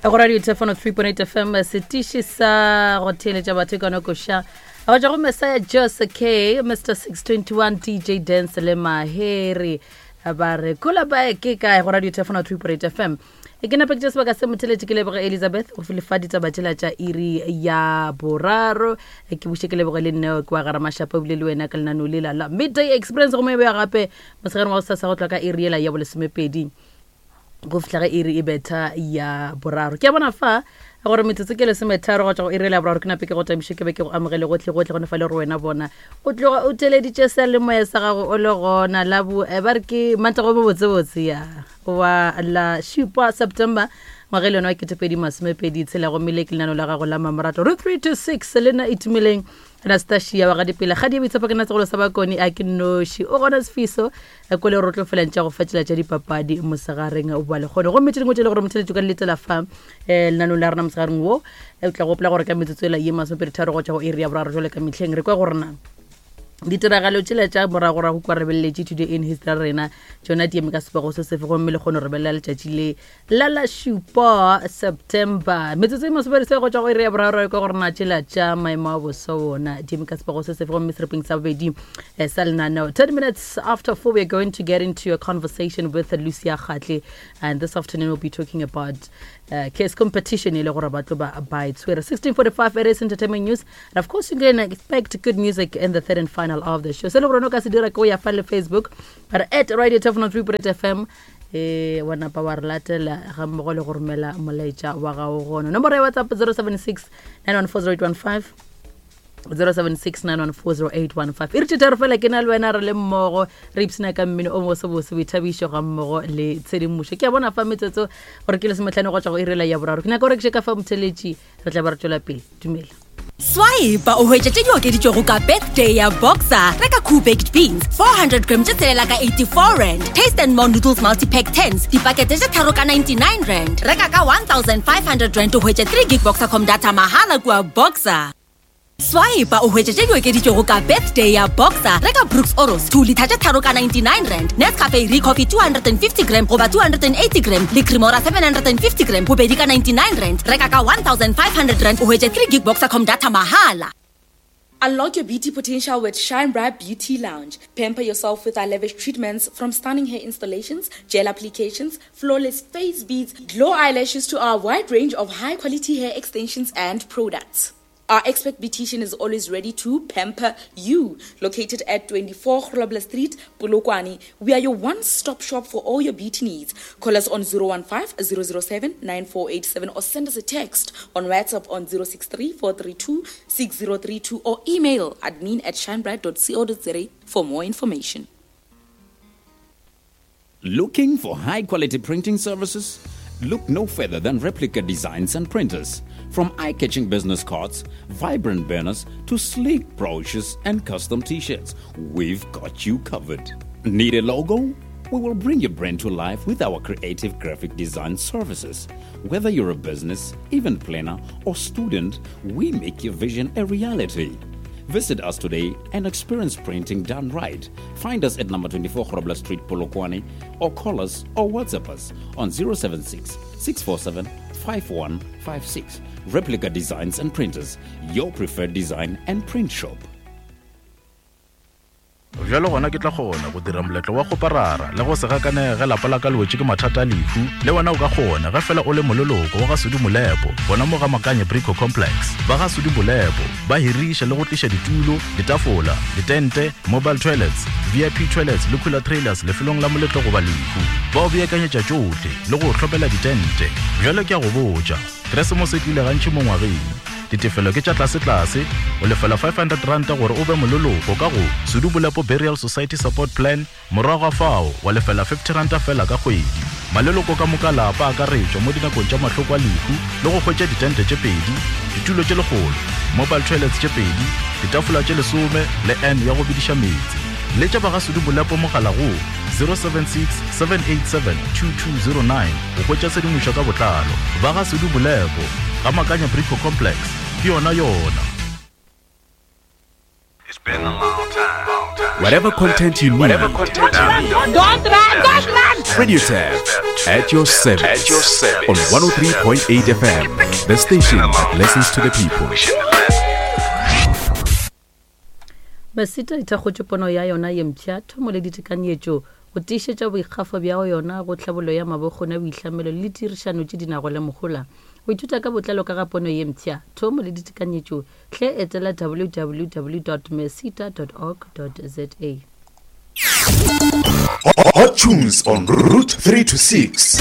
Go Radio Thefano 3.8 FM setiši sa go theeletša batho ka nokoša go tšwa go Messiah Jose K Mr 621 DJ Dance le Maheri ba re kula ba ke kae go Radio Thefano 3.8 FM e ke nape ke tša sebaka se motheletše ke leboge Elizabeth go lefa ditaba tšela tša iri ya boraro ke buše ke leboge le nneo ke wa gara mašapa ebile le wena ka lenaneo lela la Midday Experience go moebe ya gape mosegareng wa go sasa go tloga ka iri yela ya bolesomepedi go fihla ge iri e betha ya boraro ke a bona fa gore metsotso ke lesometharo go tšwa go iri ya boraro ke nape ke go tamiše ke be ke go amogele gotlhe gotlhe gone fa le gore wena bona o tloga o theleditše seyalemoya sa gago o le gona la bo eh, ba re ke mantago bo botsebotse ya wa la šupa september ngwaga e le yone wa ketepedi masomepedi tshela gomme le ke lenano la gago la mamorato ro 3 to 6 le nna itumeleng anastasia wa gadipela ga di boitshepo ke nna segolo sa bakone a ke nnoši o gona sefiso ko le rotlo felang tša go fatšela tša dipapadi mosegareng wa lekgone gomme tše dingwe tše le gore motheletšo ka letela fa um lenanong la rena mosegareng wo o tla gopola gore ka metsotso ela ye masomepedi tharo go tšwa go iri ya boraro jale ka mehleng re kwa gore na ditiragalo tšela tša moragorago kwa re beleletše today in history rena tšona di eme ka sebego se sefe gomme le kgone re belela letšatši le la la šupa September. Metsotso e masomepedi se go tšwa go iri ya boraro ka gore na tšela tša maemo a boso wona di eme ka sebego se sefe gomme serepeng sa bobedi eh, sa lenaneo. 10 minutes after 4 we are going to get into a conversation with Lucia Kgatle and this afternoon we'll be talking about uh, case competition e le gore ba tlo ba ba e tshwere. 1645 it is entertainment news and of course you can expect good music in the third and final hour of the show. Se le gore o ka se dira ke o ya fa le Facebook but at Radio 203 FM e wa napa wa re latela ga mmogo le go romela molaetša wa gago gona nomoro ya whatsapp 076 914 076 e re tharo fela ke na le wena re le mmogo re ipsina ka mmino o mosebose boithabišo ga mmogo le tshedimošo ke a bona fa metsotso gore ke lesometlhano go tswa go irela ya boraro ke nyaka gore ke še ka fa motheletši re tla ba re tšwela pele dumela Swipe o hwetša tše di okeditšwego ka birthday ya Boxer. Reka Cool Baked Beans 400 gram tše tshelela ka 84 rand. Taste and More Noodles Multi-Pack 10s dipakete tše tharo ka 99 rand. Reka ka 1500 rand o hwetše 3 gig Boxercom data mahala kua Boxer. Swipe o hwetše tše di okeditšwego ka birthday ya Boxer. Reka Brooks Oros 2 litha tše tharo ka 99 rand. Nescafe Recoffee 250 gram goba 280 gram le Cremora 750 gram bobedi ka 99 rand. Reka ka 1500 rand o hwetše 3 gig Boxercom data mahala. Unlock your beauty potential with Shine Bright Beauty Lounge. Pamper yourself with our lavish treatments from stunning hair installations, gel applications, flawless face beads, glow eyelashes to our wide range of high quality hair extensions and products. Our expert beautician is always ready to pamper you. Located at 24 Grobler Street, Polokwane, we are your one-stop shop for all your beauty needs. Call us on 015 007 9487 or send us a text on WhatsApp on 063 432 6032 or email admin at shinebright.co.za for more information. Looking for high quality printing services? Look no further than Replica Designs and Printers. From eye catching business cards, vibrant banners, to sleek brochures and custom t shirts, we've got you covered. Need a logo? We will bring your brand to life with our creative graphic design services. Whether you're a business, event planner, or student, we make your vision a reality. Visit us today and experience printing done right. Find us at number 24 Grobler Street, Polokwane, or call us or WhatsApp us on 076 647 5156. Replica Designs and Printers, your preferred design and print shop. Bjalo gona ke tla kgona go dira moletlo wa kgoparara le go se gakanege ge lapa la ka le wetše ke mathata a lehu. Le wena o ka kgona ge fela o le moleloko wa ga Sudi Molepo gona mo ga Makanye Brico Complex. Ba ga Sudi Molepo ba hiriša le go tliša ditulo, ditafola, ditente, mobile toilets, VIP toilets le cooler trailers lefelong la moletlo goba lehu. Ba o beakanyetša tšohle le go o hlomela ditente. Bjalo ke a go botša, Keresemose e tlile gantši mo ngwageng. Ditefelo ke tša tlasetlase, o lefela R500 gore o be moleloko ka go Sedubolepo Burial Society Support Plan, morago ga fao wa lefela R50 feela ka kgwedi. Maleloko ka moka a lapa a akaretšwa mo dinakong tša mahloko a lehu le go hwetša ditente tše pedi, ditulo tše lekgolo, mobile toilets tše pedi, ditafola tše lesome le urn ya go bediša meetse. Letša ba ga Sedubolepo mogala go 076 787 2209 go hwetša tshedimošo ka botlalo. Ba ga Sedubolepo. Ga Makanya Brico Complex, ke yona yona. Whatever content you need. Don't run, don't run! Radio Tab at your service. At your service. On 103.8 FM, the station that listens to the people. Masita e thakgotše pono ya yona ye mpsha, thomo le ditekanyetšo go tiišetša boikgafo bja yona go tlhabollo ya mabokgoni a boihlamelo le ditirišano tše di nago le mohola. Go ithuta ka botlalo ka ga pono ye mpsha, thomo le ditekanyetšo, hle etela www mesita org za. Hot tunes on Route 3 to 6.